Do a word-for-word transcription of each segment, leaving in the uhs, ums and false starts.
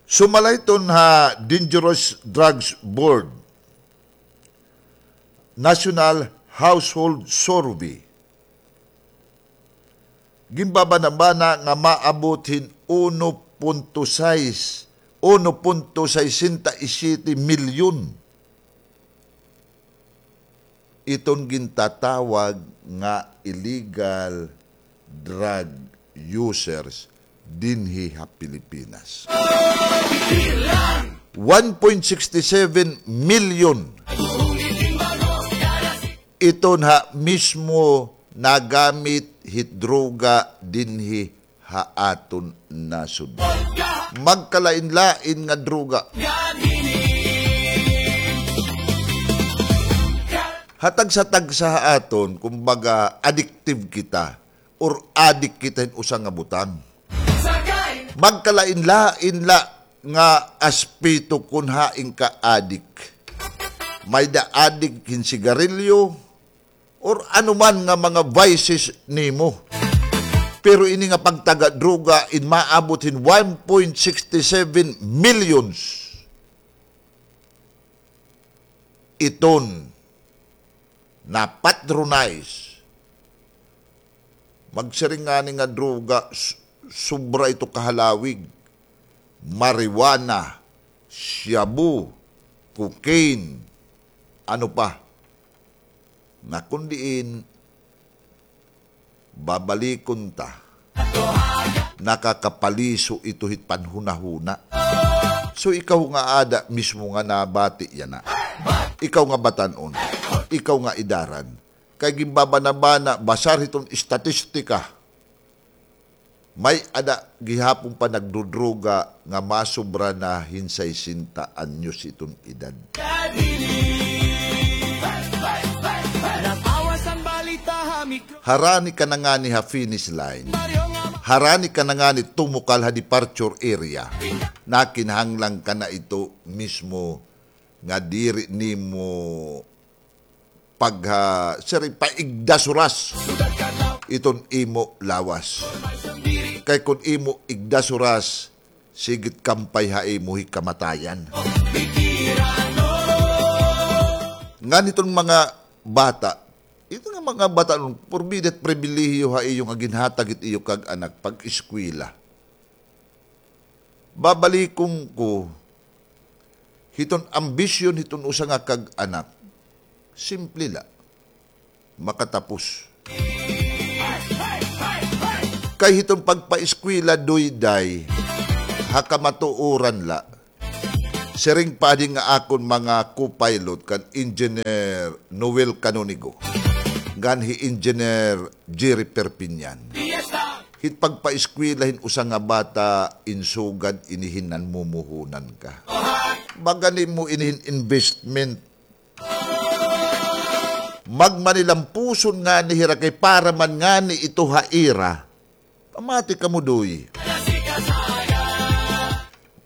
Sumala hiton ha Dangerous Drugs Board National Household Survey, ginbabanabana nga maabot hin uno punto sais, uno punto sesenta y siete milyon iton gintatawag nga illegal drug users dinhi ha Pilipinas. One point sixty seven milyon iton ha mismo nagamit hit droga dinhi ha aton nasod. Magkalain-lain nga droga. Ha tagsa-tagsa ha aton, kumbaga, addictive kita or adik kita hin usa nga butang. Magkalain-lain la nga aspeto kon hain ka adik. May-ada adik hin sigarilyo, or ano man nga mga vices nimo. Pero ini nga pagtaga droga in maabot hin one point sixty seven millions iton na-patronize. Magsiring ngani nga droga, s-, sobra ito kahalawig. Marijuana, shabu, cocaine, ano pa. Nga kon diin, babalikon ta, nakakapaliso ito hit panhunahuna. So, ikaw nga ada mismo nga nabati yana, ikaw nga batan-on, ikaw nga idaran, kay ginbabanabana, basar hiton estatistika, may-ada gihapon pa nagdodroga nga masobra na hin sesenta anyos iton edad. Harani ka na ngani ha finish line. Harani ka na ngani tumukal ha departure area. Nakinahanglan ka na ito mismo nga diri nimo pagha-, siring, paigdasuras iton imo lawas. Kay kon imo igdasuras, sige it kampay ha imo hi kamatayan. Ngan iton mga bata, ito nga mga bata, no, porbida it pribilehiyo ha iyo nga ginhatag it iyo kag-anak pag-eskwela. Babalikon ko, hiton ambisyon hiton usa nga kag-anak, simple la, makatapos. Kay hiton pagpaeskwela, Doy, Day, ha kamatuoran la, siring pa adi nga akon mga co-pilot kan Engineer Noel Canonigo ngan hi Engineer Jerry Perpignan. Hit pagpaeskwela hin usa nga bata, in sugad ini hin nanmumuhunan ka. Baga nimo ini hin investment. Magmanilampuson ngani hira kay para man ngani ito ha ira. Pamati kamo, Doy.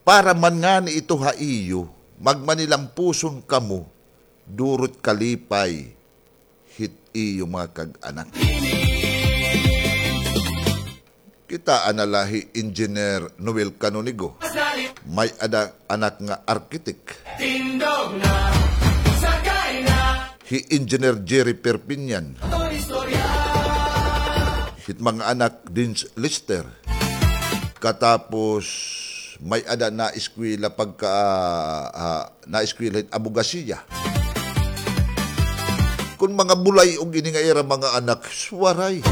Para man ngani ito ha iyo, magmanilampuson kamo, duro it kalipay hit iyo mga kag-anak. Kitaa na la hi Engineer Noel Canonigo. May-ada anak nga arkitek. Hi Engineer Jerry Perpignan. Hit mga anak, Dean's Lister. Katapos, may-ada naeskwela pagka, ah, ah, naeskwela hit abogasiya. Kon mga bulay-og ini nga ira mga anak, swaray.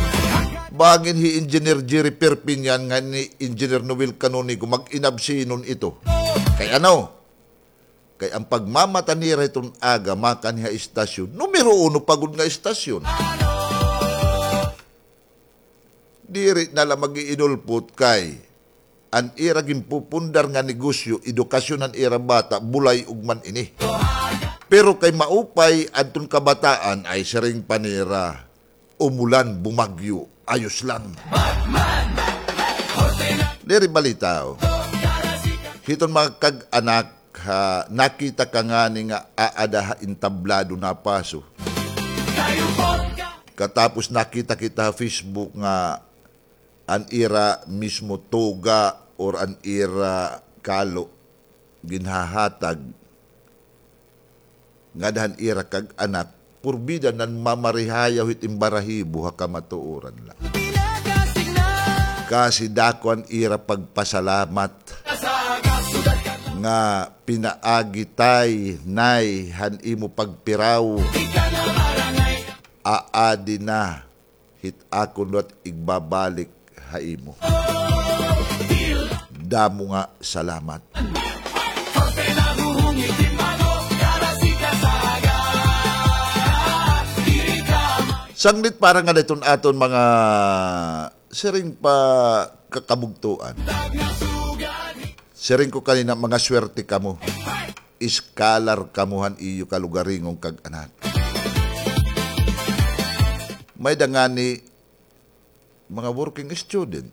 Bangin hi Engineer Jerry Perpignan ngan hi Engineer Noel Canonigo mag-inabsinon ito. Kay ano? Kay an pagmamata nira hiton aga makanhi ha istasyon, numero uno pa gud nga istasyon. Diri na la mag-iinulpot kay an ira ginpupundar nga negosyo, edukasyon han ira bata, bulay-og man ini. Pero kay maupay adton kabataan, ay siring pa nira, umulan, bumagyo, ayos lang. Diri balita, o. Hiton mga kag-anak, ha, nakita ka ngani nga aada ha entablado napaso. Katapos nakita kita ha Facebook nga an ira mismo tuga or an ira kalo ginhahatag ngada han ira kag-anak, purbida nan mamarihayaw hit imbarahibo ha kamatuoran la. Kasi dako an ira pagpasalamat nga pinaagi tay, Nay, han imo pagpiraw. Aadi na hit akon liwat igbabalik ha imo. Damo nga salamat. Sanglit para ngada hiton aton mga siring pa kakabugtoan. Siring ko kanina, mga swerte kamo. Iskalar kamo han iyo kalugaringon kag-anak. May-ada ngani mga working student.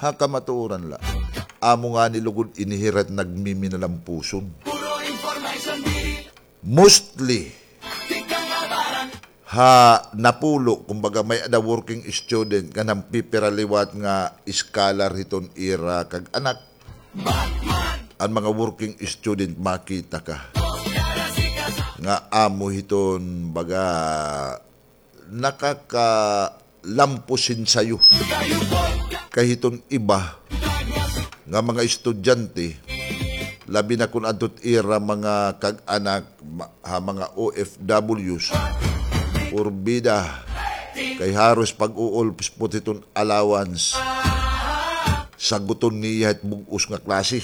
Ha kamatuoran la. Amo ngani lugod ini hira it nagmiminalampuson. Mostly, ha napulo, kumbaga, may-ada working student nga nagpipira liwat nga scholar hiton ira kag-anak. An mga working student, makita ka nga amo hiton, baga, nakakalampos hin sayo. Kay hiton iba nga mga estudyante, labi na kon adto it ira mga kag-anak, ma-, ha mga O F Ws, purbida, kay haros pag-uulpspot hiton allowance, saguton niya hit bug-os nga klase.